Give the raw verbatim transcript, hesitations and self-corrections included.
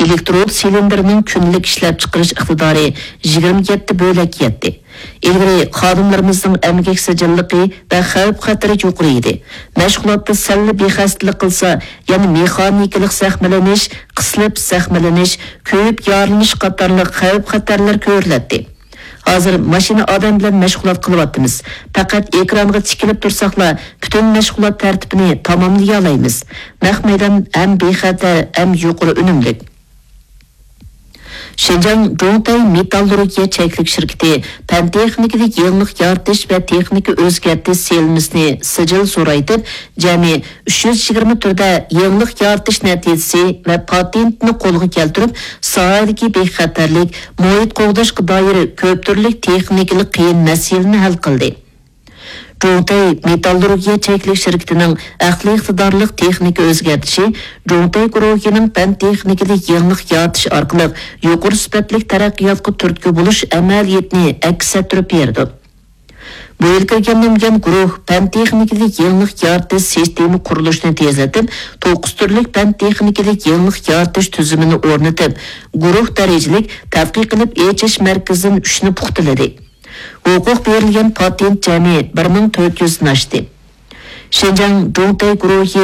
ئېلېكترود سىلىندىرىنىڭ كۈندىلىك ئىشلەپچىقىرىش ئىقتىدارى يىگىرمە يەتتە بۆلەككە يەتتى. ئىلگىرى خادىملىرىمىزنىڭ ئەمگەك سىجىللىقى ۋە خەۋپ-خەتىرى يۇقىرى ئىدى. مەشغۇلاتتا سەللا بىخەستىلىك قىلسا، يەنە مېخانىكىلىق زەخىملىنىش، قىسىلىپ زەخىملىنىش، كۆيۈپ يارىلىنىش قاتارلىق خەۋپ-خەتەرلەر كۆرۈلەتتى. ھازىر ماشىنا ئادەم بىلەن مەشغۇلات قىلىۋاتىمىز. پەقەت ئېكرانغا تىكىلىپ تۇرساقلا، پۈتۈن مەشغۇلات تەرتىپىنى تاماملىيالايمىز. نەق مەيدان ھەم بىخەتەر، ھەم يۇقىرى ئۈنۈملۈك. شىنجاڭ جۇڭتەي مېتاللۇرگىيە چەكلىك شىركىتى پەن-تېخنىكىدا يېڭىلىق يارىتىش ۋە تېخنىكا ئۆزگەرتىش سېلىنمىسىنى سىجىل زورايتىپ، جەمئىي ئۈچ يۈز يىگىرمە تۈردە يېڭىلىق يارىتىش نەتىجىسى ۋە پاتېنتنى قولغا كەلتۈرۈپ، ساھەدىكى بىخەتەرلىك، مۇھىت قوغداشقا دائىر كۆپ تۈرلۈك تېخنىكىلىق قىيىن مەسىلىنى ھەل قىلدى. جۇڭتەي مېتاللۇرگىيە چەكلىك شىركىتىنىڭ ئەقلىي ئىقتىدارلىق تېخنىكا ئۆزگەرتىشى جۇڭتەي گۇرۇھىنىڭ پەن تېخنىكىدا يېڭىلىق يارىتىش ئارقىلىق يۇقىرى سۈپەتلىك تەرەققىياتقا تۈرتكە بولۇش ئەمەلىيىتىنى ئەكس ئەتتۈرۈپ بېرىدۇ. بۇ يىل كىرگەنلەنگەن گۇرۇھ پەن تېخنىكىدا يېڭىلىق يارىتىش سىستېما قۇرۇلۇشىنى تېزلىتىپ، توققۇز تۈرلۈك پەن تېخنىكىدا يېڭىلىق يارىتىش تۈزۈمىنى ئورنىتىپ، گۇرۇھ دەرىجىلىك تەتقىق قىلىپ ئېچىش مەركىزىدىن ئۈچنى پۇختىلىدى. ھوقۇق بېرىلگەن پاتېنت جەمئىي بىر مىڭ تۆت يۈزدىن ئاشتى. شىنجاڭ جۇڭتەي گۇرۇھى